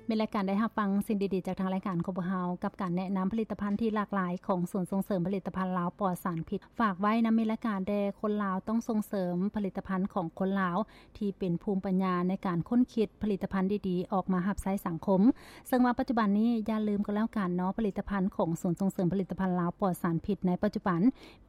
ແມ່ນລາຍການໄດ້ຮັບຟັງສິ່ງດີໆຈາກທາງລາຍການຂອງພວກເຮົາ ກັບການແນະນຳຜະລິດຕະພັນທີ່ຫຼາກຫຼາຍຂອງສູນສົ່ງເສີມຜະລິດຕະພັນລາວປອດສານພິດ. ຝາກໄວ້ນຳແມ່ນລາຍການແດ່, ຄົນລາວຕ້ອງສົ່ງເສີມຜະລິດຕະພັນຂອງຄົນລາວ ທີ່ເປັນພູມປັນຍາໃນການຄົ້ນຄິດຜະລິດຕະພັນດີໆອອກມາຮັບໃຊ້ສັງຄົມ. ເຊິ່ງວ່າປັດຈຸບັນນີ້ຢ່າລືມກໍແລ້ວກັນເນາະ, ຜະລິດຕະພັນຂອງສູນສົ່ງເສີມຜະລິດຕະພັນລາວປອດສານພິດໃນປັດຈຸບັນ,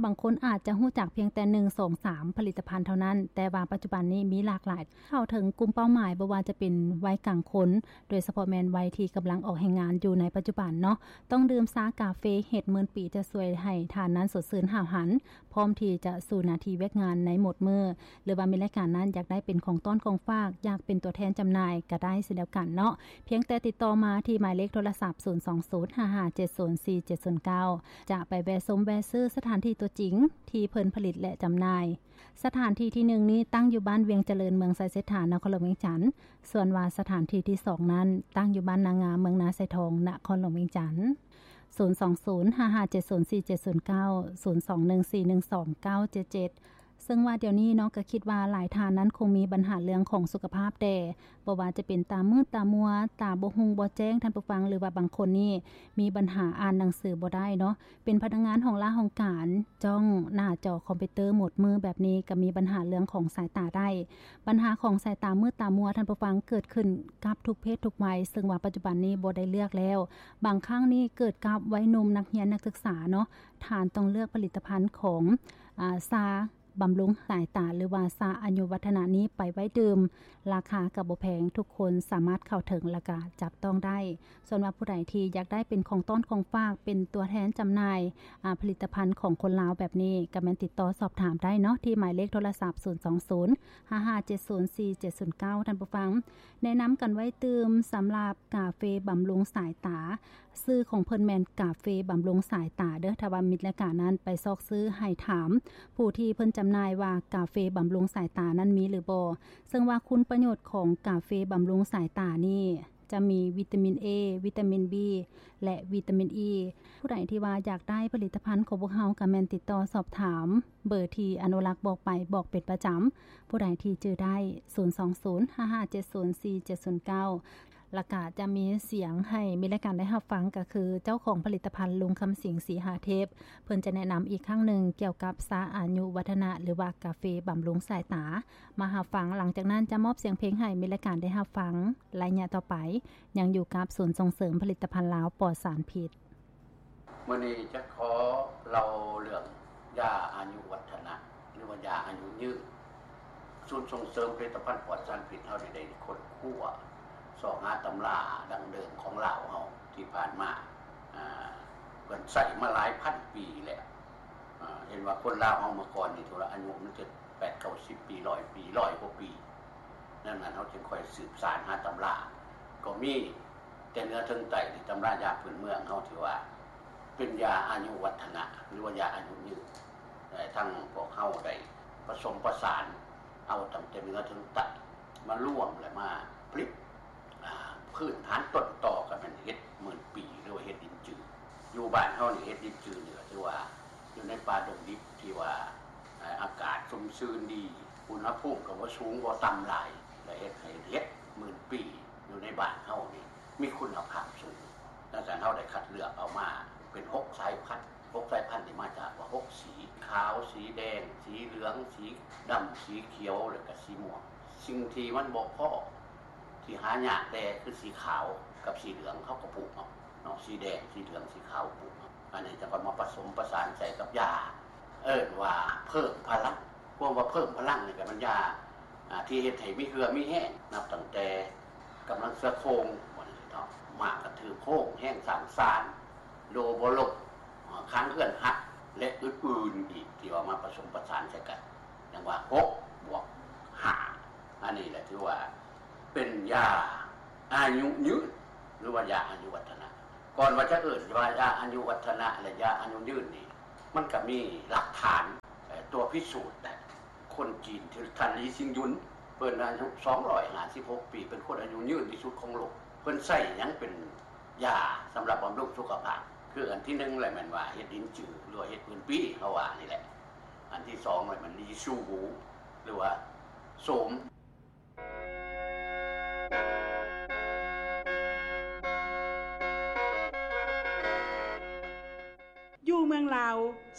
ບາງຄົນອາດຈະຮູ້ຈັກພຽງແຕ່ໜຶ່ງ ສອງ ສາມ ຜະລິດຕະພັນເທົ່ານັ້ນ, ແຕ່ວ່າປັດຈຸບັນນີ້ມີຫຼາກຫຼາຍ ເຂົ້າເຖິງກຸ່ມເປົ້າໝາຍ ບໍ່ວ່າຈະເປັນໄວກາງຄົນ, ໂດຍສະເພາະແມ່ນໄວທີ່ກຳລັງອອກແຮງງານຢູ່ໃນປັດຈຸບັນເນາະ. ຕ້ອງດື່ມຊາກາເຟເຮັດໝື່ນປີ ຈະຊ່ວຍໃຫ້ທ່ານນັ້ນສົດຊື່ນຫ້າວຫັນ, ພ້ອມທີ່ຈະສູ້ໜ້າທີ່ວຽກງານໃນໝົດມື້, ຫຼືວ່າແມ່ນລາຍການນັ້ນຢາກໄດ້ເປັນຂອງຕ້ອນຂອງຝາກ, ຢາກເປັນຕົວແທນຈຳໜ່າຍກໍໄດ້ເຊັ່ນດຽວກັນເນາະ. ພຽງແຕ່ຕິດຕໍ່ມາທີ່ໝາຍເລກໂທລະສັບ ສູນສອງສູນ ຫ້າຫ້າເຈັດສູນ ສີ່ເຈັດສູນເກົ້າ ຈະໄປແວະຊົມແວະຊື້ສະຖານທີ່ຕົວຈິງທີ່ເພິ່ນຜະລິດ ແລະ ຈຳໜ່າຍ. ສະຖານທີ່ທີໜຶ່ງນີ້ຕັ້ງຢູ່ບ້ານວຽງຈະເລີນ ເມືອງໄຊເສດຖາ ນະຄອນຫຼວງວຽງຈັນ, ສ່ວນວ່າສະຖານທີ່ທີສອງນັ້ນຕັ້ງຢູ່ບ້ານນາງາມ ເມືອງນາຊາຍທອງ ນະຄອນຫຼວງວຽງຈັນ. ສູນສອງສູນ ຫ້າຫ້າເຈັດສູນ ສີ່ເຈັດສູນເກົ້າ ສູນສອງໜຶ່ງສີ່ໜຶ່ງສອງເກົ້າເຈັດເຈັດ. ເຊິ່ງວ່າດຽວນີ້ເນາະ ກໍຄິດວ່າຫຼາຍທ່ານນັ້ນຄົງມີບັນຫາເລື່ອງຂອງສຸຂະພາບແດ່, ບໍ່ວ່າຈະເປັນຕາມືດຕາມົວ, ຕາບໍ່ຮຸ່ງບໍ່ແຈ້ງ ທ່ານຜູ້ຟັງ, ຫຼືວ່າບາງຄົນນີ້ມີບັນຫາອ່ານໜັງສືບໍ່ໄດ້ເນາະ, ເປັນພະນັກງານຫ້ອງລາຫ້ອງການ ຈ້ອງໜ້າຈໍຄອມພິວເຕີໝົດມື້ແບບນີ້ ກໍມີບັນຫາເລື່ອງຂອງສາຍຕາໄດ້. ບັນຫາຂອງສາຍຕາມືດຕາມົວ ທ່ານຜູ້ຟັງ, ເກີດຂຶ້ນກັບທຸກເພດທຸກໄວ, ເຊິ່ງວ່າປັດຈຸບັນນີ້ບໍ່ໄດ້ເລືອກແລ້ວ. ບາງຄັ້ງນີ້ເກີດກັບໄວໜຸ່ມ, ນັກຮຽນ, ນັກສຶກສາເນາະ, ທ່ານຕ້ອງເລືອກຜະລິດຕະພັນຂອງ ອາ ຊາ ບຳລຸງສາຍຕາ ຫຼືວ່າຊາອາຍຸວັດທະນະນີ້ໄປໄວ້ດື່ມ. ລາຄາກໍບໍ່ແພງ, ທຸກຄົນສາມາດເຂົ້າເຖິງ ແລະ ກະຈັບຕ້ອງໄດ້. ສ່ວນວ່າຜູ້ໃດທີ່ຢາກໄດ້ເປັນຂອງຕ້ອນຂອງຝາກ, ເປັນຕົວແທນຈຳໜ່າຍ ອາ ຜະລິດຕະພັນຂອງຄົນລາວແບບນີ້, ກໍແມ່ນຕິດຕໍ່ສອບຖາມໄດ້ເນາະ ທີ່ໝາຍເລກໂທລະສັບ ສູນສອງສູນ ຫ້າຫ້າເຈັດສູນ ສີ່ເຈັດສູນເກົ້າ ທ່ານຜູ້ຟັງ. ແນະນຳກັນໄວ້ຕື່ມ ສຳລັບກາເຟບຳລຸງສາຍຕາ, ຊື່ຂອງເພິ່ນແມ່ນກາເຟບຳລຸງສາຍຕາເດີ້. ຖ້າວ່າມິດລາຍການນັ້ນໄປຊອກຊື້ ໃຫ້ຖາມຜູ້ທີ່ເພິ່ນຈຳໜ່າຍວ່າກາເຟບຳລຸງສາຍຕານັ້ນມີຫຼືບໍ່. ເຊິ່ງວ່າຄຸນປະໂຫຍດຂອງກາເຟບຳລຸງສາຍຕານີ້ຈະມີວິຕາມິນ A, ວິຕາມິນ B ແລະ ວິຕາມິນ E. ຜູ້ໃດທີ່ວ່າຢາກໄດ້ຜະລິດຕະພັນຂອງພວກເຮົາ ກໍແມ່ນຕິດຕໍ່ສອບຖາມເບີທີ່ອະນຸລັກບອກໄປບອກເປັນປະຈຳ. ຜູ້ໃດທີ່ຈື່ໄດ້ ສູນສອງສູນ ຫ້າຫ້າເຈັດສູນ ສີ່ເຈັດສູນເກົ້າ. ແລ້ວກະຈະມີສຽງໃຫ້ມີລາຍການໄດ້ຮັບຟັງ ກໍຄືເຈົ້າຂອງຜະລິດຕະພັນ ລຸງຄຳສິງ ສີຫາເທບ, ເພິ່ນຈະແນະນຳອີກຄັ້ງໜຶ່ງກ່ຽວກັບຊາອາຍຸວັດທະນະ ຫຼືວ່າກາເຟບຳລຸງສາຍຕາ ມາຮັບຟັງ. ຫຼັງຈາກນັ້ນຈະມອບສຽງເພງໃຫ້ມີລາຍການໄດ້ຮັບຟັງ. ໄລຍະຕໍ່ໄປ ຍັງຢູ່ກັບສູນສົ່ງເສີມຜະລິດຕະພັນລາວປອດສານພິດ. ມື້ນີ້ຈະຂໍເລົ່າເລື່ອງຢາອາຍຸວັດທະນະ ຫຼືວ່າຢາອາຍຸຍືນ. ສູນສົ່ງເສີມຜະລິດຕະພັນປອດສານພິດເຮົານີ້ໄດ້ຄົ້ນຄວ້າຊອກຫາຕຳລາດັ້ງເດີມຂອງລາວເຮົາທີ່ຜ່ານມາ, ອາ, ເພິ່ນໃຊ້ມາຫຼາຍພັນປີແລ້ວ. ອາ, ເຫັນວ່າຄົນລາວເຮົາເມື່ອກ່ອນນີ້ ຖືວ່າອາຍຸມັນຈະແປດເກົ້າສິບປີ, ຮ້ອຍປີ, ຮ້ອຍກວ່າປີ. ດັ່ງນັ້ນເຮົາຈຶ່ງຄ່ອຍສືບສານຫາຕຳລາ ກໍມີ ແຕ່ເໜືອເຖິງໃຕ້ນີ້ ຕຳລາຢາພື້ນເມືອງເຮົາຖືວ່າເປັນຢາອາຍຸວັດທະນະ ຫຼືວ່າຢາອາຍຸຍືນ. ແລະ ທັງພວກເຮົາໄດ້ປະສົມປະສານເອົາຕັ້ງແຕ່ເໜືອເຖິງໃຕ້ມາລວມ ແລະ ມາຜະລິດ. ອາ, ພື້ນຖານຕົ້ນຕໍກໍແມ່ນເຫັດໝື່ນປີ ຫຼືວ່າເຫັດລິນຈື. ຢູ່ບ້ານເຮົານີ້ ເຫັດລິນຈືນີ້ກໍຖືວ່າຢູ່ໃນປ່າດົງດິບທີ່ວ່າ ອາ, ອາກາດຊຸ່ມຊື່ນດີ, ອຸນຫະພູມກໍບໍ່ສູງບໍ່ຕ່ຳຫຼາຍ ແລະ ເຮັດໃຫ້ເຫັດໝື່ນປີຢູ່ໃນບ້ານເຮົານີ້ ມີຄຸນນະພາບສູງ. ດັ່ງນັ້ນເຮົາໄດ້ຄັດເລືອກເອົາມາເປັນຫົກສາຍພັນ, ຫົກສາຍພັນນີ້ມາຈາກວ່າຫົກສີ, ຂາວ, ສີແດງ, ສີເຫຼືອງ, ສີດຳ, ສີຂຽວ ແລ້ວກະສີມ່ວງ. ສິ່ງທີ່ມັນບໍ່ພໍ, ທີ່ຫາຍາກແດ່ຄືສີຂາວກັບສີເຫຼືອງ ເຮົາກໍປູກເອົາເນາະ, ສີແດງ, ສີເຫຼືອງ, ສີຂາວ ປູກເອົາ. ອັນນີ້ຈະກໍມາປະສົມປະສານໃສ່ກັບຢາ ເອີ້ນວ່າເພີ່ມພະລັງ. ຄວາມວ່າເພີ່ມພະລັງນີ້ກໍແມ່ນຢາ ອາ ທີ່ເຮັດໃຫ້ມີເຫື່ອມີແຮງ, ນັບຕັ້ງແຕ່ກຳລັງເສືອໂຄ່ງ ວ່າຊັ້ນເນາະ, ມ້າກະຖືໂຄ້ງ, ແຮງສ້າງຊານ, ໂລບໍ່ລົ້ມ, ອາ ຄັງເຮືອນຫັກ ແລະ ອື່ນໆອີກ ທີ່ວ່າມາປະສົມປະສານໃສ່ກັນ, ຈັ່ງວ່າຫົກບວກຫ້າ. ອັນນີ້ແຫຼະຖືວ່າເປັນຢາອາຍຸຍືນ ຫຼືວ່າຢາອາຍຸວັດທະນະ. ກ່ອນວ່າຈະເອີ້ນວ່າຢາອາຍຸວັດທະນະ ແລະ ຢາອາຍຸຍືນນີ້ ມັນກໍມີຫຼັກຖານ, ເອີ່, ຕົວພິສູດໄດ້. ຄົນຈີນທີ່ທ່ານ ລີຊິງຍຸນ ເພິ່ນອາຍຸສອງຮ້ອຍຫ້າສິບຫົກປີ, ເປັນຄົນອາຍຸຍືນທີ່ສຸດຂອງໂລກ. ເພິ່ນໃຊ້ຫຍັງເປັນຢາສຳລັບບຳລຸງສຸຂະພາບ? ຄືອັນທີໜຶ່ງແຫຼະ ແມ່ນວ່າເຫັດລິນຈື ຫຼືວ່າເຫັດໝື່ນປີ ເຮົາວ່ານີ້ແຫຼະ. ອັນທີສອງແຫຼະ ແມ່ນລີຊູຫວູ ຫຼືວ່າໂສມ.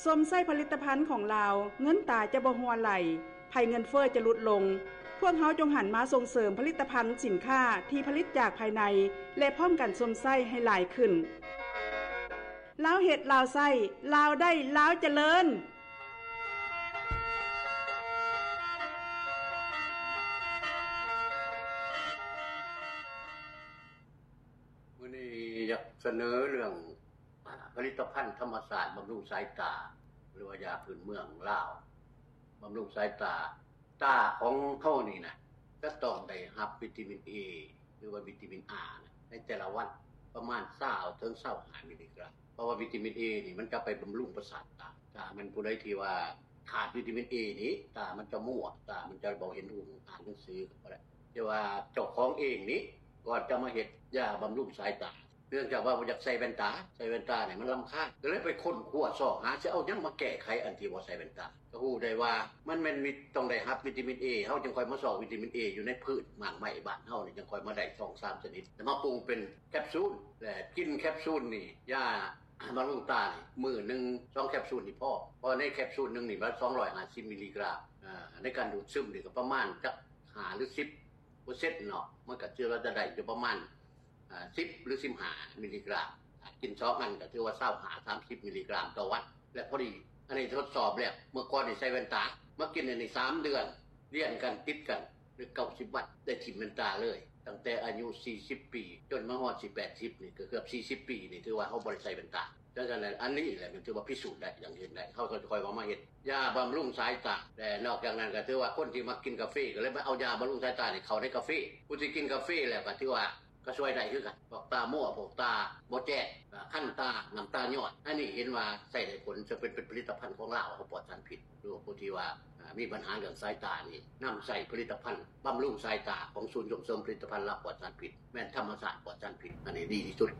ຊົມໃຊ້ຜະລິດຕະພັນຂອງລາວ, ເງິນຕາຈະບໍ່ຮົ່ວໄຫຼ, ໄພເງິນເຟີ້ຈະຫຼຸດລົງ. ພວກເຮົາຈົ່ງຫັນມາສົ່ງເສີມຜະລິດຕະພັນສິນຄ້າທີ່ຜະລິດຈາກພາຍໃນ ແລະ ພ້ອມກັນຊົມໃຊ້ໃຫ້ຫຼາຍຂຶ້ນ. ລາວເຮັດ, ລາວໃຊ້, ລາວໄດ້, ລາວຈະເລີນ. ມື້ນີ້ຢາກສະເໜີເລື່ອງ ອາ ຜະລິດຕະພັນທຳມະຊາດບຳລຸງສາຍຕາ ຫຼືວ່າຢາພື້ນເມືອງລາວ ບຳລຸງສາຍຕາ. ຕາຂອງເຮົານີ້ນະ ຈະຕ້ອງໄດ້ຮັບວິຕາມິນເອ ຫຼືວ່າວິຕາມິນອານະ ໃນແຕ່ລະວັນປະມານຊາວເຖິງຊາວຫ້າມິລລີກຣາມ. ເພາະວ່າວິຕາມິນເອນີ້ມັນຈະໄປບຳລຸງປະສາດຕາ. ຖ້າແມ່ນຜູ້ໃດທີ່ວ່າຂາດວິຕາມິນເອນີ້ ຕາມັນຈະມົວ, ຕາມັນຈະບໍ່ເຫັນຮຸ່ງ, ອ່ານໜັງສືກໍບໍ່ໄດ້. ແຕ່ວ່າເຈົ້າຂອງເອງນີ້ ກ່ອນຈະມາເຮັດຢາບຳລຸງສາຍຕາ ເນື່ອງຈາກວ່າບໍ່ຢາກໃສ່ແວ່ນຕາ, ໃສ່ແວ່ນຕານີ້ມັນລຳຄານ ກໍເລີຍໄປຄົ້ນຄວ້າຊອກຫາ ຊິເອົາຫຍັງມາແກ້ໄຂອັນທີ່ບໍ່ໃສ່ແວ່ນຕາ. ກໍຮູ້ໄດ້ວ່າມັນແມ່ນມີ ຕ້ອງໄດ້ຮັບວິຕາມິນເອ, ເຮົາຈຶ່ງຄ່ອຍມາຊອກວິຕາມິນເອຢູ່ໃນພືດໝາກໄມ້ບ້ານເຮົານີ້ ຈຶ່ງຄ່ອຍມາໄດ້ສອງສາມຊະນິດ ແລ້ວມາປຸງເປັນແຄບຊູນ ແລະ ກິນແຄບຊູນນີ້ ຢາບຳລຸງຕານີ້ ມື້ໜຶ່ງສອງແຄບຊູນນີ້ພໍ, ເພາະໃນແຄບຊູນໜຶ່ງນີ້ມັນສອງຮ້ອຍຫ້າສິບມິລລີກຣາມ. ອາ ໃນການດູດຊຶມນີ້ກໍປະມານຈັກຫ້າຫຼືສິບເປີເຊັນເນາະ, ມັນກໍຖືວ່າຈະໄດ້ຢູ່ປະມານ ອາ ສິບຫຼືສິບຫ້າມິລລີກຣາມ. ຖ້າກິນສອງອັນກໍຖືວ່າຊາວຫ້າ ສາມສິບມິລລີກຣາມຕໍ່ວັນ ແລະ ພໍດີ. ອັນນີ້ທົດສອບແລ້ວ, ເມື່ອກ່ອນນີ້ໃສ່ແວ່ນຕາ, ມາກິນອັນນີ້ສາມເດືອນລຽນກັນຕິດກັນ ຫຼື ເກົ້າສິບວັນ ໄດ້ຖິ້ມແວ່ນຕາເລີຍ, ຕັ້ງແຕ່ອາຍຸສີ່ສິບປີ ຈົນມາຮອດສິບ ແປດສິບນີ້ ກໍເກືອບສີ່ສິບປີນີ້ ຖືວ່າເຮົາບໍ່ໄດ້ໃສ່ແວ່ນຕາ. ສະນັ້ນ ອັນນີ້ແຫຼະມັນຖືວ່າພິສູດໄດ້ຢ່າງເຫັນໄດ້. ເຮົາກໍຄ່ອຍວ່າມາເຮັດຢາບຳລຸງສາຍຕາ ແລະ ນອກຈາກນັ້ນກໍຖືວ່າຄົນທີ່ມັກກິນກາເຟ ກໍເລີຍມາເອົາຢາບຳລຸງສາຍຕານີ້ເຂົ້າໃນກາເຟ. ຜູ້ທີ່ກິນກາເຟແລ້ວກໍຖືວ່າ ກໍຊ່ວຍໄດ້ຄືກັນ. ພວກຕາມົວ, ພວກຕາບໍ່ແຈ້ງ, ອາ ຄັນຕາ, ນ້ຳຕາຍ້ອຍ, ອັນນີ້ເຫັນວ່າໃຊ້ໄດ້ຜົນ, ເຊິ່ງເປັນ, ເປັນຜະລິດຕະພັນຂອງລາວເຮົາປອດສານພິດ. ຫຼືວ່າຜູ້ທີ່ວ່າ ອາ ມີບັນຫາເລື່ອງສາຍຕານີ້ ນຳໃຊ້ຜະລິດຕະພັນບຳລຸງສາຍຕາຂອງສູນສົ່ງເສີມຜະລິດຕະພັນລາວປອດສານພິດ, ແມ່ນທຳມະຊາດປອດສານພິດ, ອັນນີ້ດີທີ່ສຸດ.